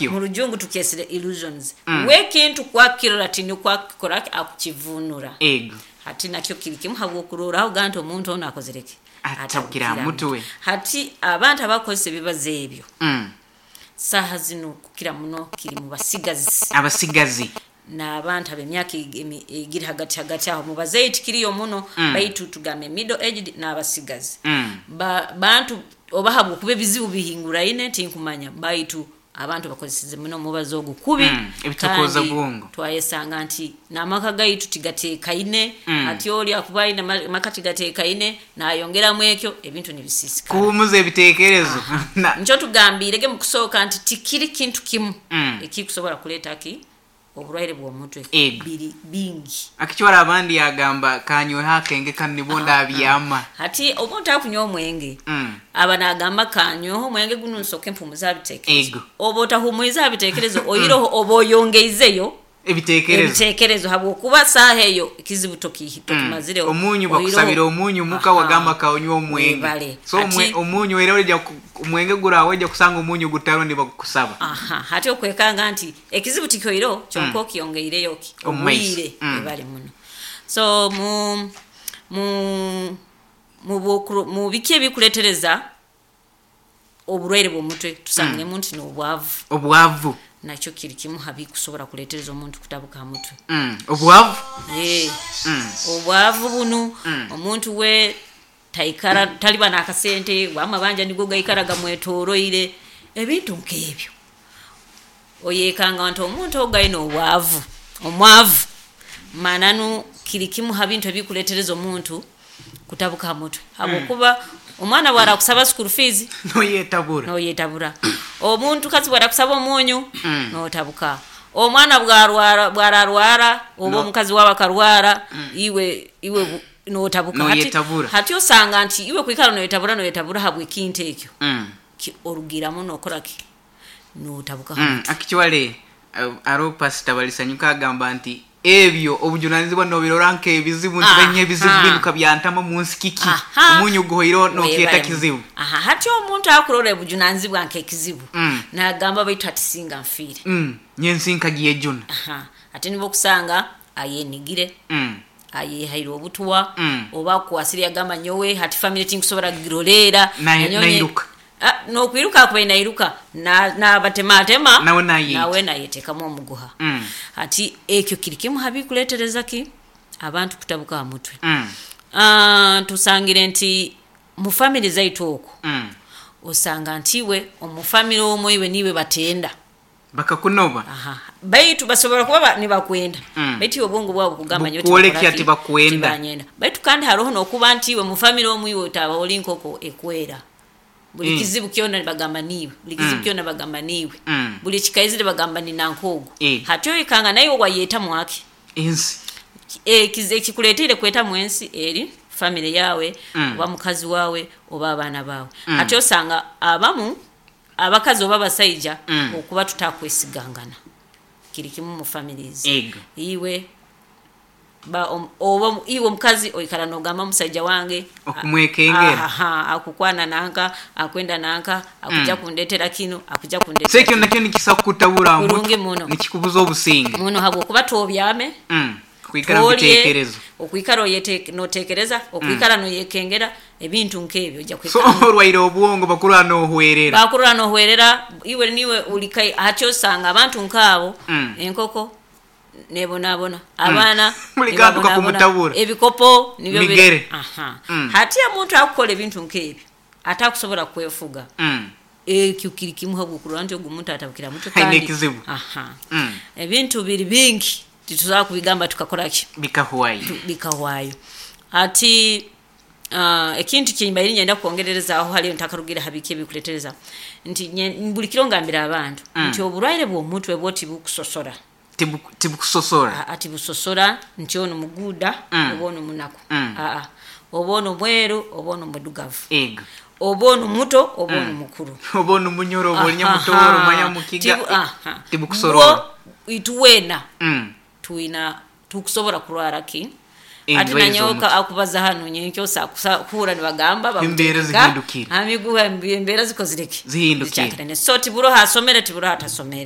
Mu rujungu tukyesire illusions. Wekintu kwakirora tinikwo akukora ki, akukivunura. Hati nakyo kiri kimu habwokurorraho ga nti omuntu onu akozire ki? Atabukire ha mutwe. Hati abantu abakukozesa ebibazo ebyo, saaha zinu kukira muno kiri mu basigazi. Abasigazi. N'abantu ab'emyaka egiri hagati hagati aho. Mu bazeeyi tikiriyo muno, baitu tugambe middle aged n'abasigazi. Bantu oba habwokuba ebizibu bihinguraine tinkumanya, baitu abantu bakozeseze muno omubazi ogu kubi. Ebitokooza Kandi bwongo. twayesanga nti n'amaka gaitu tigateekaine. Hati oli akuba aine amaka tigateekaine, nayongeramu ekyo, ebintu nibisiisikara. Kuhumuza ebiteekerezo. Nikyo tugambiirege mu kusooka nti tikiri kintu kimu ekikusobora kuleeta ki oburwaire bw'omutwe. Biri bingi. Akicwara abandi yagamba kanyweho akenge kanu nibwo ndabyama. Hati omuntu akunywa omwenge, aba nagamba kanyweho omwenge gunu nsooke mpumuze aha biteekerezo. Oba otahumwize aha biteekerezo, oiroho oba oyongeizeyo ebiteekerezo. Ebiteekerezo, habwokuba saaha eyo ekizibu tokimazireho. Omunyu bakusabira omunyu muka, wagamba kanywe omwenge. Webale. So omunyu era oija omwenge gurawe oija kusanga omunyu gutaro nibagukusaba. Aha, hati okwekanga nti ekizibu tikyoireho, kyonka okiyongeireyo ki omu maiso. Obwire. Webale muno. So mu biki ebikuleetereza oburwaire bw'omutwe, tusangiremu nti n'obwavu. Obwavu. Nakyo kiri kimu ha bikusobora kuleetereza omuntu kutabuka ha mutwe. Obwavu. Obwavu bunu, omuntu we taikara taliba n'akasente, amabanja nigo gaikara gamwetoroire, ebintu nk'ebyo. Oyekanga nti omuntu ogu aine obwavu, omwavu, mananu kiri kimu ha bintu ebikuleetereza omuntu kutabuka ha mutwe, habwokuba omwana bwarakusaba school fees, noyetabura. Noyetabura. Omuntu kazi bwarakusaba omunyu, notabuka. Omwana bwarwara, bwararwara oba omukazi wawe akarwara, iwe notabuka. Noyetabura. Hati osanga nti iwe kwikara noyetabura noyetabura habw'ekintu ekyo, orugiramu nokora ki, notabuka ha mutwe. Actually, aroho Pastor Balisanyuka agamba nti ebyo obujunanizibwa nobirora nk'ebizibu nti benya ebizibu binu kabyantama mu nsi kiki, omunyu guhoireho nokyeta kizibu. Aha, hati omuntu akurora obujunanizibwa nk'ekizibu, nagamba baitu hati singa nfiire. Nyensi nkagyejuna. Aha, hati nibwo okusanga ayenigire, ayehaire obutwa, oba akwasire yagamba nyowe hati family tinkusobora kugiroleera. Nairuka. N'okwiruka akubaire nairuka, nabatematema, nawe nayeita. Nawe nayeteekamu omuguha. Hati ekyo kiri kimu ha bikuleetereza ki abantu kutabuka ha mutwe. Tusangire nti mu family zaitu oku, osanga nti iwe omu family omwo iwe niiwe batenda. Bakakunoba. Aha. Baitu basobora kuba nibakwenda, baitu iwe obwongo bwawe bukugamba nyowe bukwolekya tibakora ki? Tibakwenda. Tibanyenda. Baitu kandi haroho n'okuba nti iwe mu family omu iwe otaba oli nkoko ekwera. Buli kizibu kyona nibagamba niiwe, buli kizibu kyona bagamba niiwe, buli kikaizire bagamba ni nanka ogu. Hati oyekanga naiwe wayetamu aki? Ensi. Ekikuleetiire kwetamu ensi eri family yawe, oba mukazi wawe oba abaana bawe. Hati osanga abamu abakazi oba abasaija okuba tutakwesigangana kiri kimu mu families. Iwe oba iwe omukazi oikara nogamba omusaija wange okumwekengera. Aha, akukwana nanka, akwenda nanka, akuja kundetera kinu, akuja So kundetera ekyo kinu. Nakyo nikisa kukutabura aha mutwe. Kurungi muno. Nikikubuza obusinge. Muno, habwokuba tobyame, Kwikara mu tolye, biteekerezo. Okwikara notekereza, okwikara noyekengera ebintu nk'ebyo ojja So kwikara orwaire obwongo bakurora nohwerera. Bakurora nohwerera, iwe niwe ulika. Hati osanga abantu nkaabo, enkoko nebonabona, abaana Buli kantu nibabonabona, kakumutabura. Ebikopo nibyo Migere. Aha. Hati omuntu akukora ebintu nk'ebyo atakusobora kwefuga, ekyo kiri kimu habwokurora nti ogu omuntu atabukire ha mutwe Aine kandi ekizibu. Aha. Ebintu biri bingi, titusobola kubigamba tukakora ki, Bikahwayo. Bikahwayo. Hati ekintu kyembaire ninyenda kwongererezaaho haliyo ntakarugire ha biki ebikuleetereza, nti buli kiro ngambira abantu nti oburwaire bw'omutwe bwo tibukusosora. Tibukusosora. Aa, tibusosora nti onu muguuda oba onu munaku. Aa, oba onu mweru oba onu mwidugavu, oba onu muto oba onu mukuru. Oba onu munyoro oba oli nyamutooro manya mukiga. Aha. Tibukusorora. Bwo ituweena twina tukusobora kurwara ki hati Endwaire nanyowe z'omutwe. akubaza hanu nyenkyo kuhurra nibagamba Embeera bamuteeka zihindukire. ha miguha, embeera zikozire ki? Zihindukire. Zikyakirane. So tiburoho asomere, tiburoho atasomere.